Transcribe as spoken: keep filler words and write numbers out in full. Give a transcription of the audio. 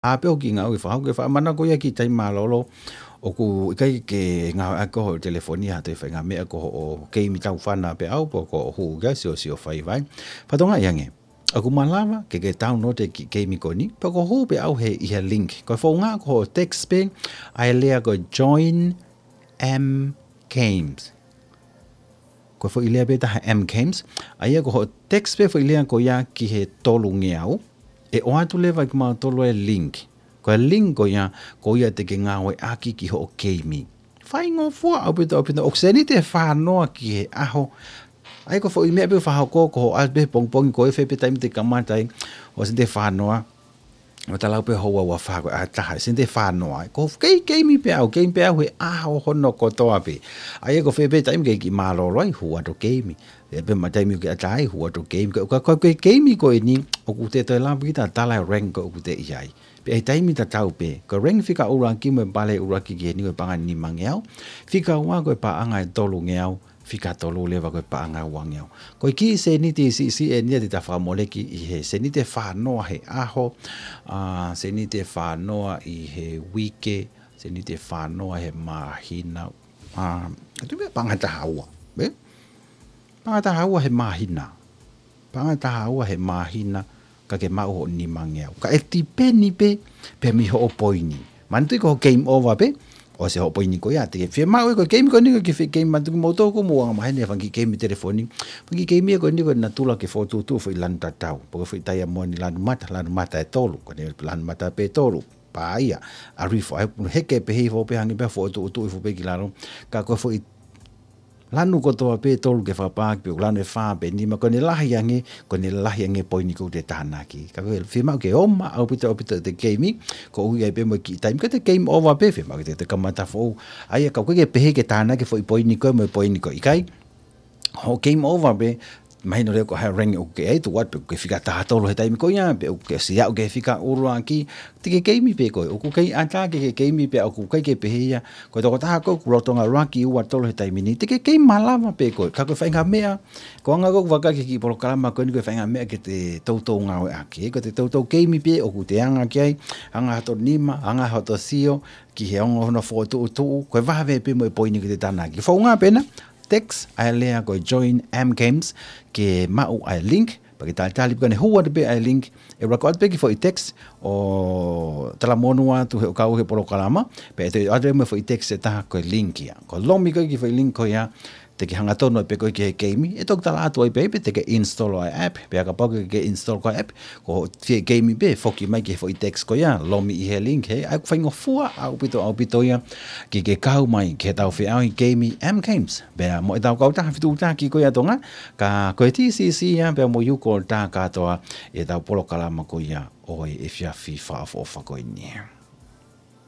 ʻa pē ʻoku ke ngāue fakahoko, ke fakamana ko ia ki tai mālōlō, ʻoku ʻikai ke ngāueʻaki hoʻo telefoni ha toe faʻahinga meʻa ko hoʻo keimi taufana pē ʻaʻau, pe ko hoʻo hū ki ai siosio faiva. Fakatokangaʻi ange, ʻoku malava ke ke download e kiʻi keimi ko eni, pe ko hoʻo hū pē ʻaʻau he ʻi he link. Ko e founga ko hoʻo text pē ʻa e lea ko e join M Games. Ko e foʻi lea pē taha M Games, ʻa ia ko hoʻo text pē foʻi lea ko ia ki he tolungeau, ʻe ʻoatu leva kimautolu e link. Ko e link ko ia, ko ia te ke ngāueʻaki ki hoʻo keimi. Faingofua ʻaupito, ʻaupito, ʻoku seniti ʻe fā noa ki he ʻaho. ʻA ia ko e foʻi meʻa pē ʻoku fakahoko, ko hoʻo ʻalu pē pongipongi, ko e fē pē taimi te ke kamata ai, ʻo seniti ʻe fā noa. ʻO talau pē houa ua fā ko e ʻaho ʻe taha, seniti ʻe fā noa. Ko e kei keimi pē ʻaʻau, keimi pē ʻaʻau he ʻaho hono kotoa pē. ʻA ia ko e fē pē taimi ke ke mālōlō ai, hū atu keimi. Fē pē ma taimi ke ʻatā ai, hū atu keimi. Ko, ko, ko e keimi ko eni, ʻoku te toe lava kita tala e rank ko ē ʻoku te ʻi ai. Pea ʻi he taimi tatau pē, ko e rank fika ʻuluaki mo e pale ʻuluaki ki heni ko e paʻanga ʻe nimangeau, fika ua ko e paʻanga ʻe tolungeau, fika tolu leva ko e paʻanga ʻe uangeau. Ko e kiʻi seniti siʻisiʻi eni ia te ta fakamoleki ʻi he seniti ʻe fā noa he ʻaho, ʻa, seniti ʻe fā noa ʻi he uike, seniti ʻe fā noa he māhina, ʻa, ʻe tuʻu pē paʻanga ʻe taha ua, ē? Paʻanga ʻe taha ua he māhina. Paʻanga ʻe taha ua he māhina, ka ke maʻu hoʻo nimangeau. Ka ʻe tipeni pē, pē mei hoʻo poini. Manatuʻi ko e game over pē, ʻosi hoʻo poini ko ia, te ke fiemaʻu ē ko e keimi ko eni ko e kiʻi foʻi keimi, manatuʻi kimoutolu ko e mou anga maheni e fanga kiʻi keimi telefoni. Fanga kiʻi keimi ko eni ko e natula ke fokotuʻutuʻu foʻi lanu tatau. Pe ko e foʻi taiamoni lanu mata, lanu mata ʻe tolu, ko eni lanu mata pē ʻe tolu. Pā ia, ʻa e rifo, ʻa e heke pē hifo pē hangē pē fokotuʻutuʻu hifo pē ki lalo. Ka ko e foʻi lanu kotoa pē ʻe tolu ke fakapā, pe ko e lanu ʻe fā pe ʻe nima, ko ʻene lahi ange, ko ʻene lahi ange e poini ʻoku te tānaki. Ka ko e fiemaʻu ke oma ʻaupito, ʻaupito ʻete keimi, ko e ui ai pē mo e kiʻi taimi, ka ʻete game over pē, fiemaʻu ke te, te kamata foʻou. ʻA ia ka ʻoku ʻikai ke pehē ke tānaki e foʻi poini ko ē mo e poini ko ē, ʻikai. Hoʻo game over pē, mahino leva ko e hā e rank ʻoku ke ʻi ai, tuʻu atu pē ʻoku ke fika taha tolu he taimi ko ia, pe ʻoku ke ʻosi aʻu ki he fika ʻuluaki, te ke keimi pē koe, ʻoku ʻikai ʻatā ke ke keimi pē, ʻoku ʻikai ke pehē ia, ko e tokotaha ko ē ʻoku lolotonga ʻuluaki, ua, tolu he taimi ni, te ke keimi malava pē koe, ka ko e faʻahinga meʻa, ko e anga ko ē ʻoku vakai ki he kiʻi polokalama ko eni ko e faʻahinga meʻa ke te toutou ngāueʻaki, ko ʻete toutou keimi pē ʻoku te anga ki ai, anga hoto nima, anga hoto sio, ki he ongo hono fokotuʻutuʻu, ko e vave pē mo e poini ʻoku te tānaki. Founga pē ena, text ʻa e lea ko e join M Games ke maʻu ʻa e link, pea ke talitali pē ka ne hū atu pē ʻa e link, ʻe ʻuluaki ʻoatu pē kiʻi foʻi text ʻo talamonū atu he ʻoku kau he polokalama, pea ʻe toe ʻoatu pē mo e foʻi text ʻe taha ko e link ia. Ko e lomi ko ē kiʻi foʻi link ko ia, te ke hangatonu ai pē koe ki he keimi, ʻe toki tala atu ai pē, pea te ke install ʻa e app, pea kapau ʻoku ke install ko e app, ko hoʻo fie keimi pē, foki mai ki he foʻi text ko ia, lomi ʻi he link, hē, ʻa ia ʻoku faingofua ʻaupito, ʻaupito ia, ke ke kau mai, ki heʻetau feʻauhi keimi M Games. Pea mo ʻetau kautaha fetuʻutaki ko ia ʻa Tonga, ka ko e T C C ia, pea mo Yuko ʻo tā kātoa ʻetau polokalama ko ia ʻo e efiafi fakaʻofoʻofa ko eni.